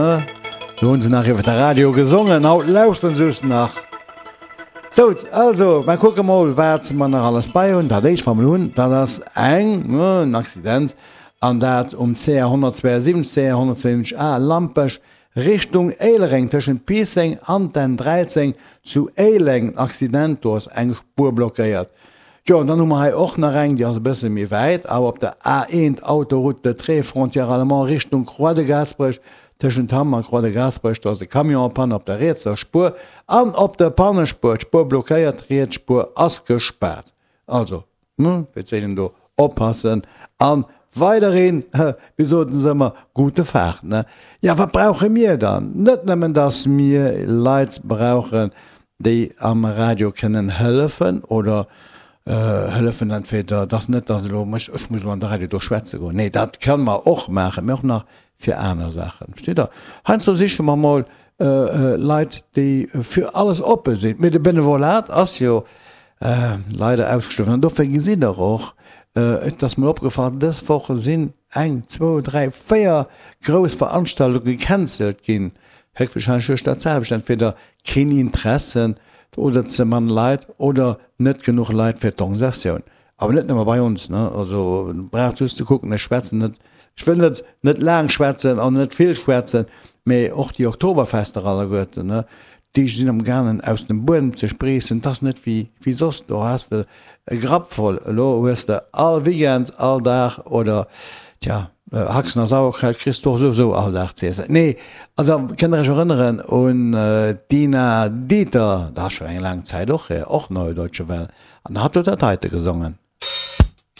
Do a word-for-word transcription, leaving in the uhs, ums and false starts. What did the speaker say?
Do hunn se nach iwwer de Radio gesongen, haut lauschteren se just nach. Sou, also, mer kucke mol, wat mer nach alles bei hunn. Dat éischt, wat mer hunn, dat ass eng, en Accident, an dat um C R honnertzweiensiwwenzeg, C R honnertzweiensiwwenzeg A, Lampech, Richtung Éilereng, tëschent Piisseng an den dräizéng zu Éileng. Accident, do ass eng Spuer blockéiert. Jo, an dann hu mer hei och nach eng, déi ass e bësse méi wäit, awer op der A eent, Autoroute de Trèves, Frontière allemande, Richtung Croix de Gaasperech, tëschent Hamm a Croix de Gaasperech, do ass e Camion en panne op der rietser Spuer an op der Pannespuer, d'Spuer blockéiert, d'riets Spuer ass gespaart. Also, fir z'eenen do oppassen an weiderhin, wéi soten se ëmmer, gute Fahrt, ne? Jo, wat brauche mir dann? Net nëmmen, dass mir Leit brauchen, déi am Radio kënnen hëllefen oder hëllefen entweder, dass net, dass elo ech, ech muss elo an de Radio do schwätze goen, nee, dat kënne mer och maachen, mee och nach fir aner Saachen, versteet Der? Heiansdo siche mer mol Leit, déi fir alles oppe sinn, mee de Benevolat ass jo leider ausgestuerwen an dofir gesitt Der och, et ass mir opgefall, dës Woch sinn eng, zwou, dräi, véier grouss Veranstaltunge gecancelt ginn, héchstwahrscheinlech duerch dat selwecht, entweder keen Interesse oder ze mann Leit oder net genuch Leit fir d'Organisatioun. Awer net nëmme bei ons, ne, also braucht just ze kucken, ech schwätzen net, ech wëll net net laang schwätzen an net vill schwätzen, mee och déi Oktoberfester alleguerten, ne, déi sinn am gaangen aus dem Buedem ze spreessen, 't ass net wéi wéi soss, do has de e Grapp voll, elo hues de all Weekend, all Dag oder tja, Haxen a Sauerkraut kriss de och souwisou all Dag z'iessen. Nee, also kënnt der iech erënneren un d'Dina Dieter, dat ass schonn eng laang Zäit och hier, och Neue Deutsche Welle, an hatt huet dat heite gesongen.